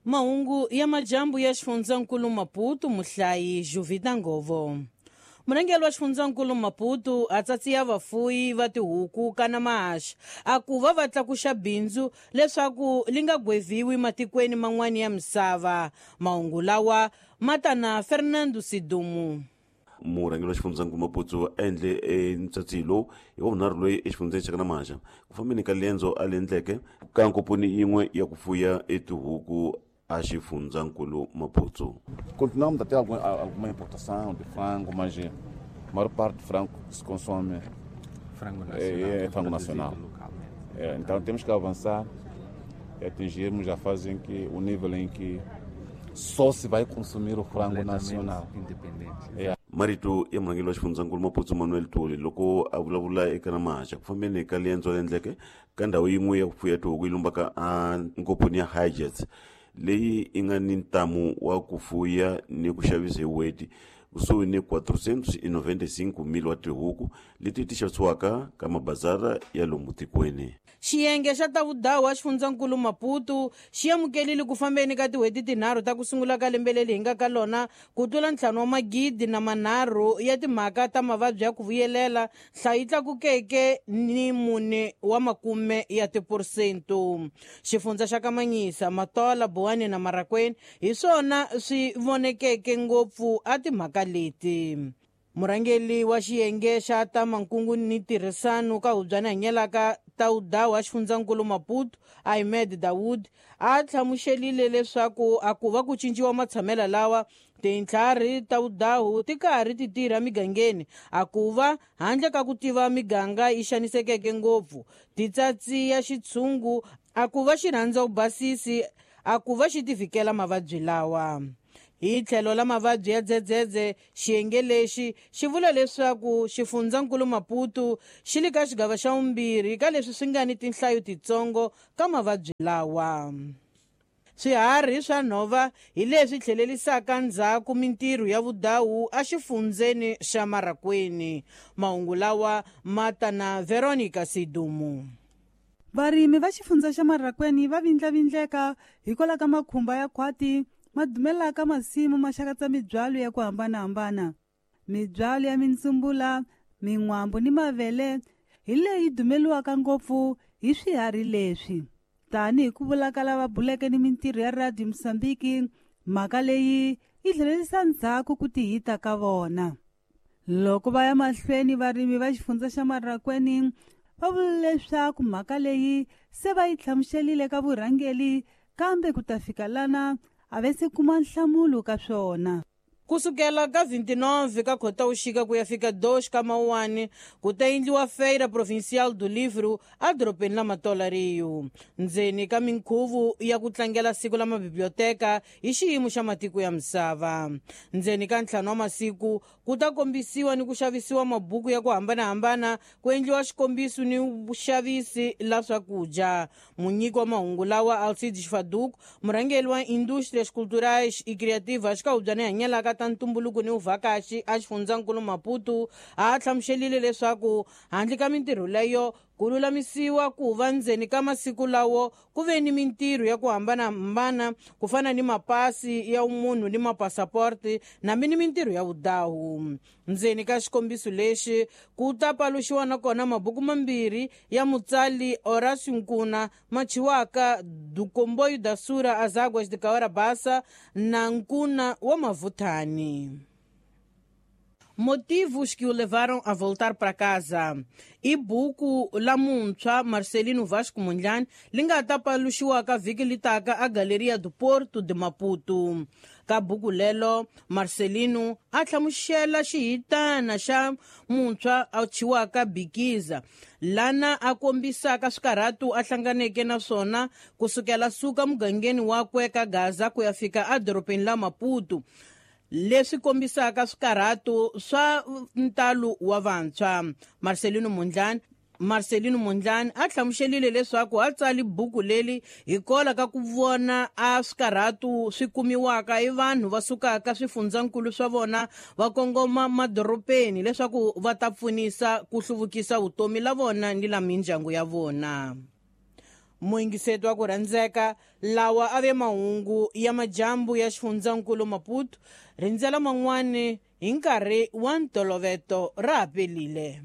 Mahungu ya majambu ya xifundzankulu Maputo muhlayi Juvita Ngovo. Murhangeri wa xifundzankulu Maputo a tsatsiya vafuyi va tihuku kana mahaxa a ku va va tlakuxa bindzu leswaku li nga gweviwi matikweni man'wani ya misava. Mahungu lawa ma ta na Fernando Sidumu. Murhangeri wa xifundzankulu Maputo a endle ntsatsi lowu hi wa vunharhu loyi exifundzeni xa Kanamaxa ku fambeni ka lendzo a le endleke ka nkoponi yin'we ya ku fuya etihuku a xifundzankulu Maputo. Continuamos a ter alguma importação de frango, mas a maior parte do frango que se consome frango nacional, é frango nacional. É, então temos que avançar e atingirmos a fase em que o nível em que só se vai consumir o frango nacional. Independente. É. Marito ya murhangeri wa xifundzankulu Maputo Manuel Tuli loko a vulavula eka Namaxa ku fambeni ka liendzo endleke ka ndhawu yin'we ya ku fuya tihuku yi lumbaka a nkoponi ya Hijets leyi yi nga ni ntamu wa ku fuya ni ku xavisa hi weti kusuhi ni 495,000 wa tihuku leti ti xavisiwaka ka mabazara ya lomu tikweni. Xiyenge xa ta vudawu wa xifundzankulu Maputo xi amukelile ku fambeni ka tin'hweti tinharhu ta ku sungula ka lembe leri hi nga ka lona ku tlula 5 300 ya timhaka ta mavabyi ya ku vuyelela, nhlayo yi tlakukeke ni 40 ya tiphurosento. Xifundza xa Kamanyisa, Matola, Buwani na Marakweni hi swona swi vonekeke ngopfu a timhaka leti. Murhangeri wa xiyenge xa ta mankungu ni tirhisano ka hubyana hanyelaka ta udawu wa xifundzankulu Maputo Ahmed Dawood a hlamuselile leswaku a ku va ku cinciwa matshamelo lawa tintlhari ta vudawu ti karhi ti tirha migangeni a ku va handle ka ku tiva miganga yi xanisekeke ngopfu titsatsi ya xitshungu a ku va xi rhandza vubasisi a ku va xi ti vhikela mavabyi lawa. Hi tlhelo la mavabyi ya dzedzedze, xiyenge lexi xi vula leswaku xifundzankulu Maputo xi le ka xigava xa vumbirhi ka leswi swi nga ni tinhlayo titsongo ka mavabyi lawa. Swiharhi swa nhova hi leswi tlhelelisaka ndzhaku mintirho ya vudawu exifundzeni xa Marakweni. Mahungu lawa ma ta na Veronica Sidumu. Varimi va xifundza xa Marakweni va vindlavindleka hikwalaho ka makhumba ya khwati ma dumelaka masimu ma xakatsa mibyalo ya ku hambanahambana. Mibyalo ya mintsumbula, min'wambu ni mavele hi leyi dumeliwaka ngopfu hi swiharhi leswi. Tanihi ku vula ka lava buleke ni mintirho ya Radio Mosambiki, mhaka leyi yi tlhelerisa ndzhaku ku tihita ka vona. Loko va ya mahlweni, varimi va xifundza xa Marakweni va vula leswaku mhaka leyi se va yi hlamuselile ka vurhangeri, kambe ku ta fika lana a ve se kuma nhlamulo ka swona. Kusukela ka 29 ka Khotavuxika ku ya fika 2 ka Mawuwani ku ta endliwa Feira Provincial do Livro edorobeni la Matola Rio, ndzeni ka minkhuvo ya ku tlangela siku la mabiblioteka hi xiyimo xa matiko ya misava. Ndzeni ka 5 wa masiku ku ta kombisiwa ni ku xavisiwa mabuku ya ku hambanahambana, ku endliwa xikombiso ni vuxavisi la swakudya. Munyiki wa mahungu lawa Alcides Faduco, murhangeri wa Indústrias Culturais e Criativas ka hubyana hanyelaka ta ntumbuluko ni vuvhakaxi a xifundzankulu Maputo, a hlamuselile leswaku handle ka mintirho leyo ku lulamisiwa ku va ndzeni ka masiku lawo ku ve ni mintirho ya ku hambanahambana ku fana ni mapasi ya munhu ni mapasaporti nambi ni mintirho ya vudawu. Ndzeni ka xikombiso lexi ku ta paluxiwa nakona mabuku mambirhi ya mutsali Horácio Nkuna machiwaka Do Comboio da Sura às Águas de Cahora Bassa na Nkuna wa Mavuthani. Motivos que o levaram a voltar para casa. I buku la muntshwa Marcelino Vasco Mondlane li nga ta paluxiwaka vhiki li taka a Galeria do Porto de Maputo. Ka buku lelo Marcelino a hlamusela xihitana xa muntshwa a thyiwaka Bikiza, lana a kombisaka swikarhatu a hlanganeke na swona kusukela suka mugangeni wakwe ka Gaza ku ya fika edorobeni la Maputo, leswi kombisaka swikarhatu swa ntalo wa vantshwa. Marcelino Mondlane a hlamuselile leswaku a tsali buku leri hikwalaho ka ku vona a swikarhatu swi kumiwaka hi vanhu va sukaka swifundzankulu swa vona va kongoma madorobeni leswaku va ta pfunisa ku hluvukisa vutomi la vona ni la mindyangu ya vona. Muyingiseti wa ku rhandzeka, lawa a ve mahungu ya majambu ya xifundzankulu Maputo. Rindzela man'wani hi nkarhi wa ntoloveto ra ha pelile.